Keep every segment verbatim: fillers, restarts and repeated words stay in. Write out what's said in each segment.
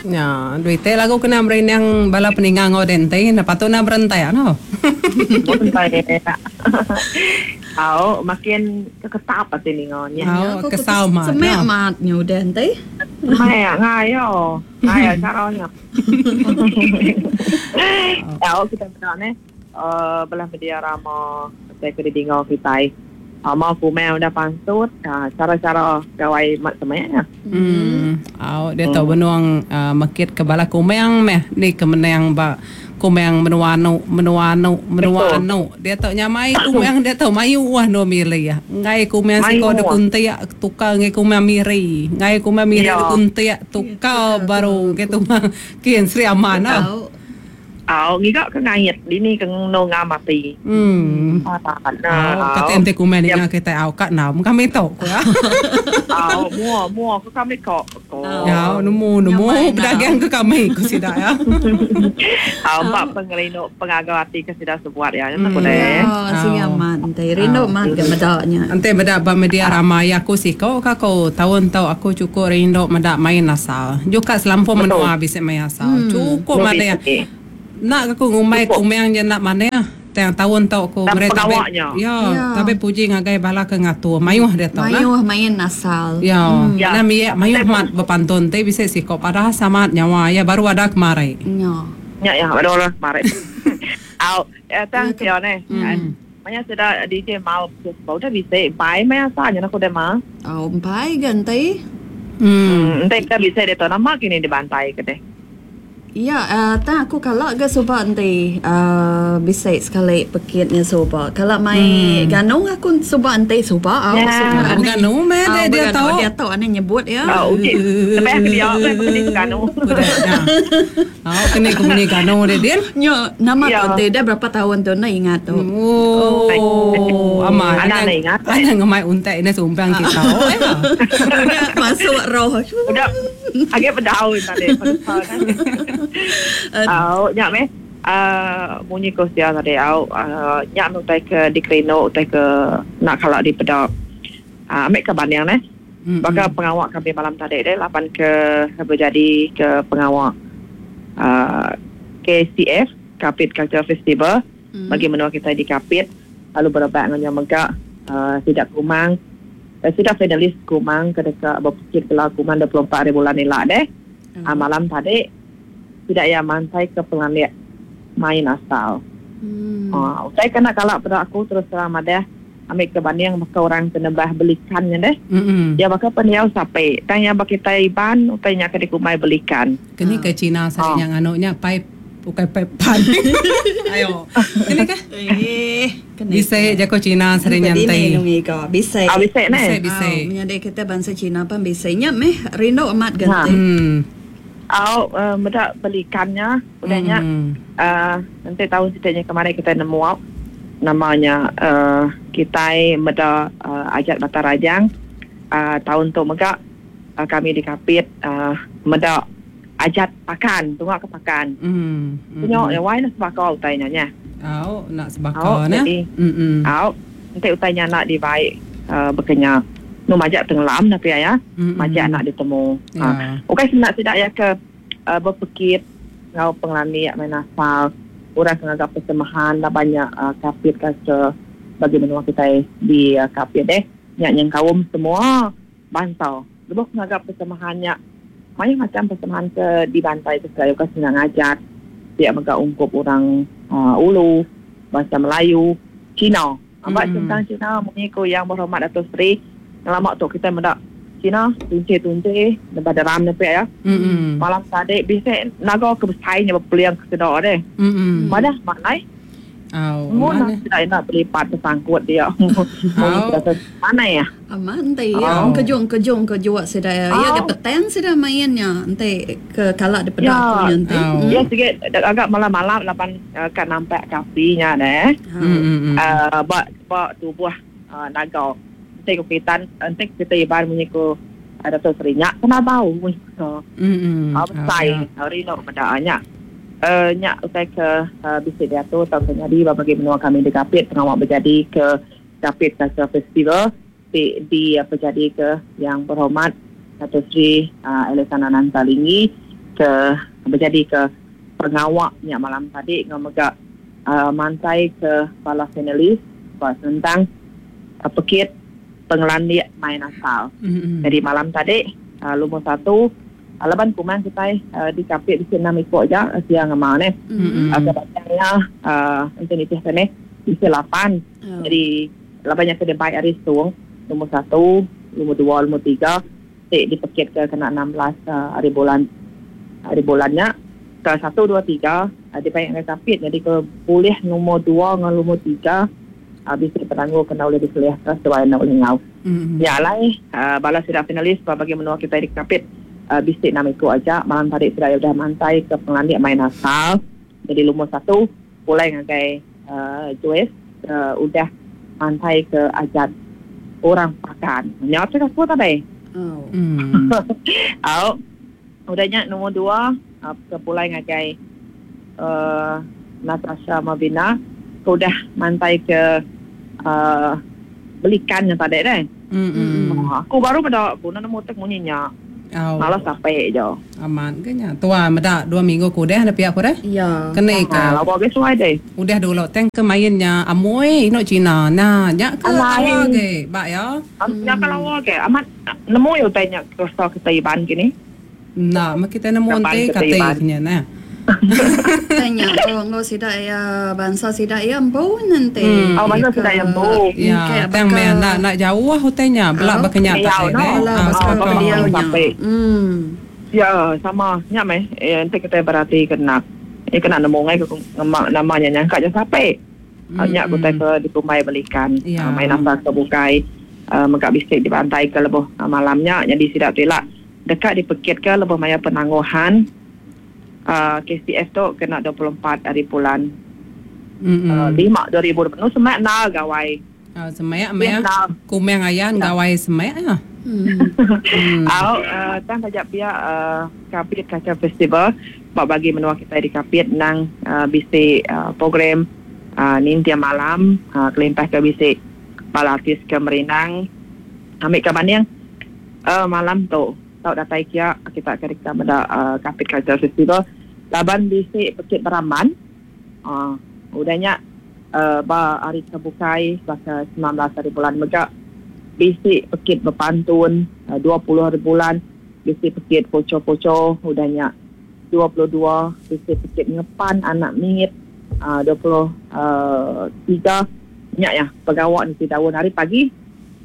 Ya, duit lagu kena merindang bala peninggal ngau dente, na patut na berentai no. Berentai. Au, makin keketap ati ningonya. Au, kesal mat. Semak mat nyu dente. Mai ngayo. Ngayo caranya. Au, kita benar ne. Eh belah media rama saya ke dingau kitai. Mau kumel udah pansut, cara-cara gawai mat semak. Hmm. Au, dia tahu benuang uh, makit ke bala kumeng meh ni kemenang ba kumeng menua anu menua anu menua anu. Dia tahu nyamai kumeng dia tahu mayu wah no milih ya. Ngai kumeng siko de kuntiak tukar ngai kumeng miri. Ngai kumeng miri de kuntiak tukar baru gitu mah kian Sri Aman. Au. Au, ngiga ke ngait dini ke no ngamati. Hmm. Nah, kata ente kumen ni kita au kat nam kami tu ko. Au, mua mua ko kami ko. Ya, nemu nemu pedagang ke kami ko sida ya. Au, pak pengerino pengaga ati ke sida sebuat ya. Nya ko deh. Sri Aman ente rindu mat ke medaknya. Ente medak ba media ramai aku siko ka ko taun tau aku cukup rindu medak main asal. Juga selampur menua bisa main asal. Cukup mana. Nak aku ngumai kumeng je nak mana tang tahun tau aku mereka ya, ya tapi puji ngagai bala ke ngatur mayuh dia tau lah mayuh main asal ya ya na miye mayuh mat berpantun te bisa sikop ada sama nyawa ya baru ada kemarin ya ya ya baru lah kemarin au tang tio ne makanya sudah D J mau bau dah bisa bai mai asalnya aku dah mah au bai ganti hmm ente kita bisa dia tau nama kini dibantai ke deh. Ya, uh, tak aku kalau ke sobat nanti uh, bisa sekali pekitnya sobat. Kalau main hmm. ganung aku sobat nanti sobat. Ya. Ganung meh dia, dia tahu. Dia tahu ane nyebut ya. Oh, okey. Tapi aku dia aku kena ganung. Oh, kena aku punya ganung dia dia. Nyo, nama tu nanti dia berapa tahun tu nak ingat tu. Oh, aman. Anak nak ingat. Anak ngemai untai ini sumpang kita. Udah masuk roh. Udah agak pedau tadi. Au, nyak meh. Uh, bunyi ko sia tadi au, uh, nyak nu tai ke dikerino tai ke nak kalak di pedak. Uh, ambil ke banding neh. Mm-hmm. Baka pengawak kami malam tadi deh lapan ke berjadi ke pengawak uh, K C F Kapit Culture Festival mm. bagi menua kita di Kapit lalu berebak dengan megak uh, sidak Kumang uh, sidak finalis Kumang ke dekat berpikir kelar Kumang dua puluh empat hari bulan ni lah deh. Mm. Uh, malam tadi tidak ya mantai ke penganiak main asal. Hmm. Uh, saya kena kalak pada aku terus terang madah ambil ke banding maka orang kena bah belikannya deh. Mm-hmm. Ya maka peniau sampai tanya bagi Taiban utainya ke dikumai belikan. Kini ke Cina saya oh. yang anuknya pipe bukan pipe pan. Ayo. Kini ke? Eh, bisa jago Cina sering nyantai. Bisa. Ah bisa ne. Bisa bisa. Menyadai kita bangsa Cina pan bisa nya meh rindu amat ganti. Hmm. Au uh, medak belikannya udahnya mm. uh, nanti tahun setidaknya kemarin kita nemu au namanya uh, kita medak uh, ajak Batarajang uh, tahun tu megak uh, kami di Kapit uh, medak ajat pakan tungak ke pakan mm. punya ya wai nak sebakau utainya nya au nak sebakau ne mm au nanti utainya nak dibaik uh, berkenya nu majak tenggelam tapi ya mm-hmm. majak nak ditemu yeah. Ha. Okey senak tidak ya ke uh, berpekit ngau pengelani main asal orang kena persemahan dah banyak uh, Kapit kaca bagi menua kita di uh, Kapit deh nyak yang kaum semua bantau lebuh kena persemahannya banyak macam persemahan ke di bantai ke saya ke senang ngajak dia megak ungkup orang uh, Ulu bahasa Melayu Cina ambak mm. tentang Cina mengikut yang berhormat Dato' Seri lama tu kita mendak Cina tunce-tunce daripada ram nepi ya. Mm-hmm. Malam tadi bisa naga ke besainya berpeliang ke sedar deh. Mm-hmm. Mana maknai? Oh, mana tidak nak berlipat tersangkut dia. Mana ya? Aman nanti ya. Kejung-kejung kejuak sudah ya. Ya ke petang sudah mainnya. Nanti ke kalak di pedak nanti. Ya sikit agak malam-malam lapan kan nampak kafinya deh. Mm-hmm. Uh, bak bak tubuh uh, naga. Nanti ku kita nanti kita iban punya ku ada tu serinyak kena bau punya ku. Hmm. Besai hari nak benda Eh nyak utai ke bisik dia tu tahun terjadi bagi menua kami di Kapit pengawak berjadi ke Kapit Culture Festival di, di apa jadi ke yang berhormat Dato' Sri uh, Alexander Nanta Linggi Ke berjadi ke pengawaknya malam tadi ngau mega uh, mantai ke bala finalis tentang uh, pekit pengelandik main asal. Mm-hmm. Jadi malam tadi uh, lumur satu uh, laban kumang kita uh, di kapit di enam ikut aja siang ngemau ni. Mm-hmm. Uh, kebatangnya uh, untuk nitih ni di lapan. Oh. Jadi labannya ke debai hari suung lumur satu, lumur dua, lumur tiga di dipekit ke kena enam belas uh, hari bulan hari bulannya ke satu, dua, tiga uh, dibaik dengan kapit. Jadi ke boleh nombor dua dengan nombor tiga habis uh, penangguh kena oleh diselih ke sesuai nak oleh ngau. Mm-hmm. Ya lai uh, bala sudah finalis bagi menua kita di kapit uh, bisik enam ikut aja malam tadi sudah sudah mantai ke pengelandik main asal. Jadi nombor satu pulai ngagai uh, Joyce uh, udah mantai ke ajat orang pakan. Nyawa cakap apa tadi? Oh. Mm. Au. Udahnya nombor dua uh, ke pulai ngagai uh, Natasha Mabina ke udah mantai ke uh, belikan yang tadi deh. Mm-mm. Oh, aku baru pada aku nak nemu tek munyinya. Oh. Malas sampai je. Aman ke nya. Tua meda dua minggu ku deh ada pihak ku deh. Ya. Kena ke. Ha, lawa ke suai deh. Udah dulu teng ke mainnya amoy ino Cina. Nah, nya ke lawa ke, bak ya. Nya ke lawa ke. Amat nemu yo tanya ke kita iban gini. Nah, mak kita nemu te kata nya nah. Tanya oh ngau sida ya bangsa sida ya empu nanti. Oh bangsa sida ya empu. Ya, tang me nak nak jauh hutenya, belak bakenya tak deh. Ah, dia sampai. Hmm. Ya, sama nya meh. Eh nanti kita berarti kena. Eh kena nemu ngai ke namanya nyangka je sampai. Nya ku ke di Kumai belikan. Main asal ke bukai megak bisik di pantai ke leboh malamnya jadi sida tilak dekat di pekit ke leboh maya penangguhan. Uh, K C F tu kena dua puluh empat hari bulan mm-hmm. uh, lima dua ribu dua puluh semak na gawai. Oh, semak meh. Kumeng ayan gawai semak ya. Hmm. Au uh, tang tajak pihak uh, Kapit Kaca Festival bak bagi menua kita di Kapit nang uh, bisi uh, program uh, nintia malam uh, kelintah ke bisi bala artis ke Merinang ambil ke banding uh, malam tu tau datai kia kita akan kita pada uh, Kapit Culture Festival laban bisik pekit beraman uh, udahnya uh, ba hari kebukai bakal sembilan belas hari bulan megak bisik pekit berpantun uh, dua puluh hari bulan bisik pekit poco-poco udahnya dua puluh dua bisik pekit ngepan anak mingit uh, dua puluh tiga nyak ya pegawak nisi daun hari pagi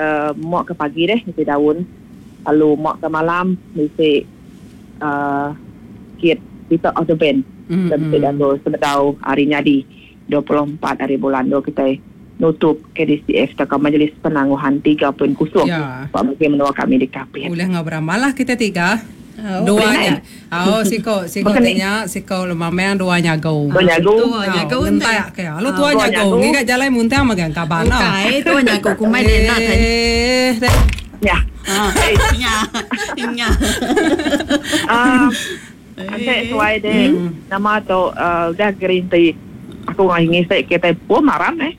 uh, mak ke pagi deh nisi daun lalu mak ke malam mesti uh, kit kita of the band mm-hmm. dan kita dah sebetau hari nyadi dua puluh empat hari bulan dua kita nutup K D C F atau Majlis Penangguhan tiga titik kosong ya. Pak bagi menua kami di Kapit. Boleh ngobrol lah kita tiga. Oh, dua nya. Oh, siko siko tanya siko lumameng dua nyago. Dua nyago. Dua nyago. Entai ke. Lu tua nyago. Ngi kat jalan muntang magang kaban. Bukai tua nyago kumai de nak tanya. Ya. Ya. Ya. Ah, ante suai de nama tu udah green tea. Aku ngai ngisek kita pun marah eh.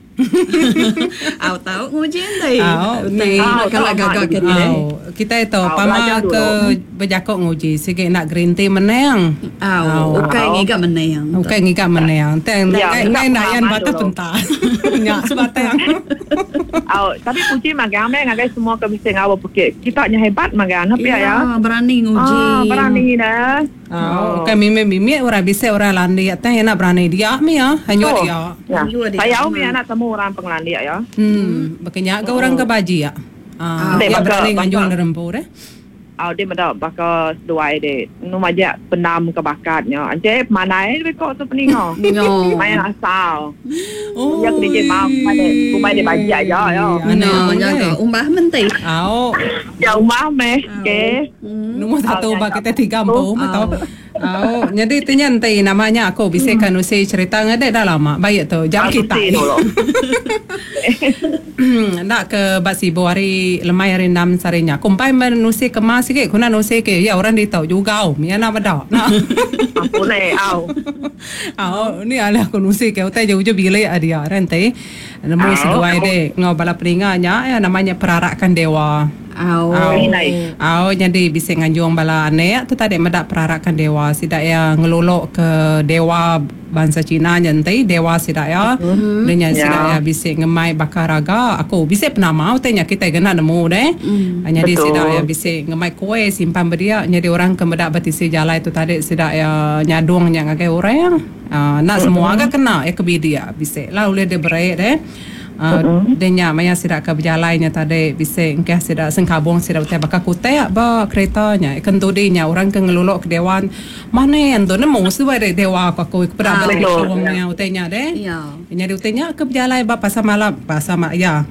Au tahu nguji ni. Au ni kalau gagak kita. Kita itu pama ke berjakok nguji sikit nak green tea menang. Au, ukai ngigak menang. Ukai ngigak menang. Teng ngai nak yan batu pentar. Nyak sebatang. Au, tapi puji magang me ngagai semua ke mesti ngau pekit. Kita nya hebat magang apa ya? Ya, berani nguji. Ah, berani dah. Oh, ukai mimi-mimi orang bisa orang landi teng nak berani dia mi ya, hanya dia. Saya mi anak temu orang pengelandia ya. Hmm, berkenyak ke orang ke baji ya. Ah, dia berani nganjung derempu deh. Oh, dia meda bakal seduai deh. Nu majak penam ke bakatnya. Ance manai dia kok tu peningo. Main asal. Oh. Dia kena je mau kumai kumai dia baji aja ya. No, jaga umbah menti. Au. Ya umbah meh. Okey. Nombor satu bak kita tiga empu atau Oh, jadi tanya nanti namanya aku bisa kan usi cerita ngade dah lama. Baik tu, jam kita. Nak ke bak sibu hari lemai hari enam sarinya. Kumpai menusi kemas sikit, kuna nusi ke ya orang dia tahu juga. Mia nak bedak. Nak. Aku le au. Au, ni ala aku nusi ke utai jauh-jauh bilik dia nanti. Nemu seduai dek ngau bala peringanya ya namanya perarakan dewa. Au. Au jadi bisa nganjung bala anek tu tadi medak perarakan dewa sidak ya ngelulok ke dewa bangsa Cina nyentai dewa sidak ya. Mm-hmm. Denya yeah. sidak ya bisa ngemai bakar raga aku bisa penama utenya kita kena nemu deh. Mm. Jadi sidak ya bisa ngemai kue simpan beria jadi orang ke medak batisi jalai tu tadi sidak ya nyadung nya ngagai orang. Uh, nak semua agak kena ya kebidia bisa lah boleh dia berai deh. Uh, denya maya sidak ke berjalannya tadi bisa engkeh sidak sengkabung sidak utai bakal kutek ba keretanya kentudinya orang ke ngelulok ke dewan mana yang tu nemu sesuai de dewa aku aku kepada bala utainya deh. Ya. Jadi utainya ke berjalan ba pasar malam pasar mak ya.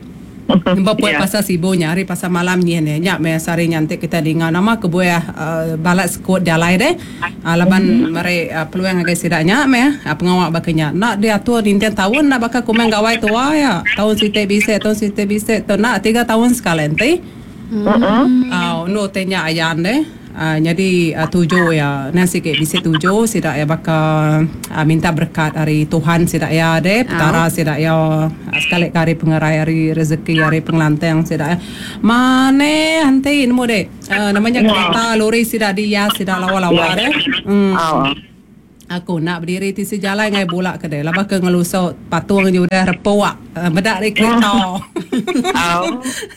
Bapak yeah. pasar sibunya hari pasar malam ni ni nyak me sari nyantik kita dengar nama kebuah uh, balat sekut jalai deh uh, laban mari uh, peluang agai sidaknya me uh, pengawak bakanya nak diatur dintian tahun nak bakal kumang gawai tua ya tahun site bisa tahun site bisa tu nak tiga tahun sekali nanti mm-hmm. uh, no tanya ayan deh. Uh, jadi uh, tujuh ya nanti sikit bisa tujuh sidak ya bakal uh, minta berkat hari Tuhan sidak ya deh petara sidak ya uh, sekali kali pengerai hari rezeki hari pengelantang sidak ya mana nanti nemu deh uh, namanya kereta lori sidak dia sidak lawa-lawa deh hmm. Oh. Aku nak berdiri di sejalan ngai bulak ke deh labah ke ngelusuk patung je udah repuak uh, medak dari kereta. Oh.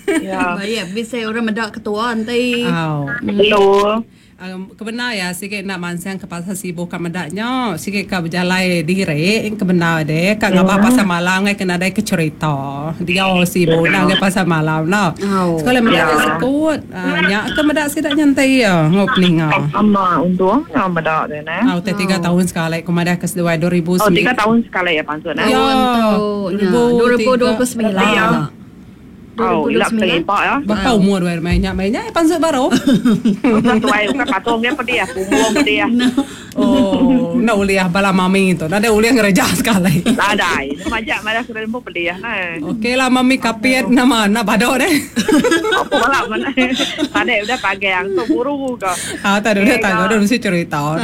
Ya. Baik, bisa orang medak ketua nanti. Oh. Betul. Um, kebenar ya sikit nak mansang ke pasar sibuk ka medaknya sikit ka berjalai dire kebenar deh ka ngapa pasar malam ngai kena dai ke cerita dia sibuk nak ke pasar malam no oh. Sekali medak sekut uh, nyak ke medak sidak nyantai ya ngop ninga ama untung ya medak deh nah oh tiga tahun sekali ku madah ke seduai dua ribu oh tiga tahun sekali ya pansut nah ya dua ribu dua puluh sembilan Oh, ilak terlibat ya. Berapa umur dua mainnya mainnya pansut baru. Bukan tuai, bukan patung dia pedih, punggung pedih. Oh, nak uliah bala mami tu. Nak ada uliah ngereja sekali. Ladai, majak malah sudah lembu pedih nah. Okey lah mami kapiat nama nak badok deh. Apa balak mana? Tadi udah pagi yang tu buru ke. Ah, tadi udah tak ada mesti cerita.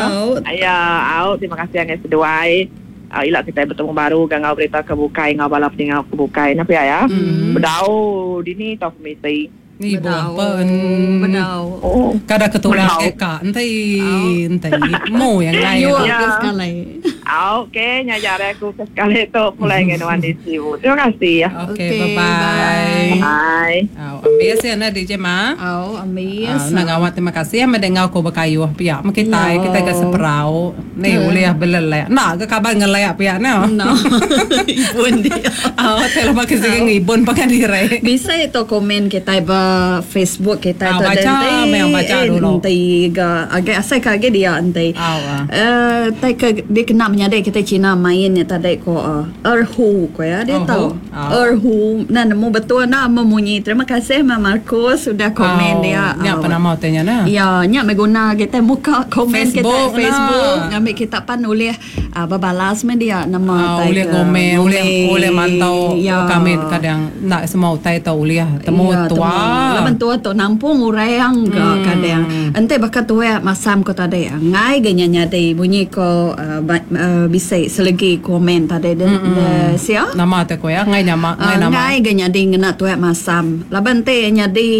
Ya, au terima kasih yang seduai. Uh, ilak kita bertemu baru gangau berita kebukai ngau balap tingau kebukai napa ya ya mm. Bedau dini tau komiti ni bedau bedau oh kada ketulah eka entai entai mo yang lain ya sekali okey nyajare aku sekali tu pulai dengan di sibu terima kasih ya okey bye bye bye oh ambil na D J ma oh ambil nak ngawat terima kasih ya mendengar ko berkayuh pihak kita kita ke seperau ni boleh belelek nak ke kabar ngelek pihak no no ibun dia oh telah pakai sing ibun pakai dire bisa itu komen kita ba Facebook kita ah, tu baca memang baca dulu nanti ga agak asal kage dia nanti eh tai ke dia kena menyadai kita Cina mainnya tadi ko erhu ko ya dia tahu erhu nah nemu betul nak memunyi terima kasih Ma Marcos sudah komen oh, dia nya apa nama tanya nah ya nya meguna kita muka komen Facebook, kita Facebook ngambil kita pan oleh uh, berbalas men dia nama oh, boleh komen boleh boleh mantau ya. Kami kadang nak semua utai tau boleh temu ya, tua laban tua tu nampung urang ke hmm. kadang ente bakal tua masam ko tadi ngai ge nyadi bunyi ko uh, uh, bisa selegi komen tadi de, hmm. de sia nama te ko ya ngai nama ngai nama ngai ge nyadi ngena tua masam laban te nyadi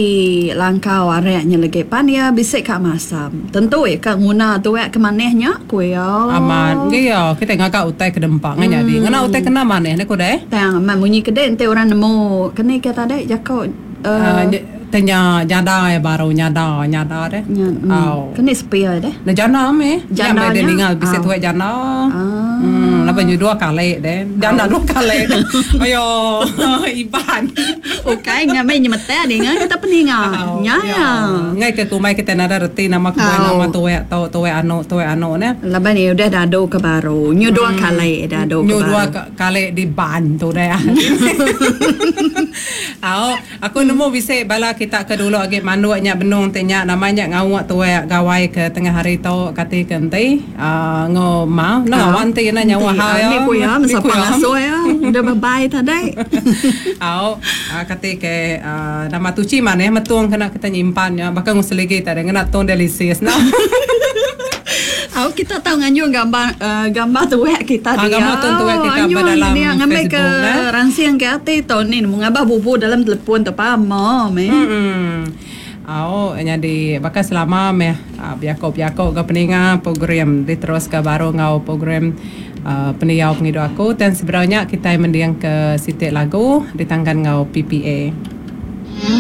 langkau areknya lagi pan ya bisa ka masam tentu ya ka nguna tua ke manehnya ku ya aman ge ya kita ngagak utai ke dempak ngai nyadi ngena utai kena maneh ne ko deh tang bunyi kede ente orang nemu kene ke tadi jako uh, tanya nyada ya baru nyada nyada deh. Oh. Kena sepi deh. Nah jana me. Jana dia tinggal bisa tuai jana. Hmm, lepas ni dua kali deh. Jana dua kali. Ayo, Iban. Okey, ngamai nyemete deh ngai kita peninga. Nya ya. Ngai ke kumai kita nada reti nama kumai nama tuai atau tuai anu tuai anu ne. Lepas ni udah dado ke baru. Nyu dua kali dado ke baru. Nyu dua kali dibantu deh. Au, aku nemu bisa bala kita ke dulu agi manduknya benung tanya namanya ngawak tuai gawai ke tengah hari tu kati kenti uh, ngo mau no wanti na nyawa ha ya ni ku ya masa pangaso ya udah bye tadi. Au kati ke uh, nama tuci mana metung kena kita nyimpan ya bahkan nguseligi tadi ngena tong delicious no. Au kita tahu nganjung gambar uh, gambar tuwek kita ah, dia. Gambar tu tuwek kita dalam dia ngambil ke Facebook, ransiang ke hati tahun ni mengabah bubu dalam telefon tu pamo me. Hmm. Au nyadi baka selama meh uh, biako-biako ga peninga program diteruska baru ngau program uh, pendiau pengidup aku dan sebenarnya kita mending ke sitik lagu ditangkan ngau P P A.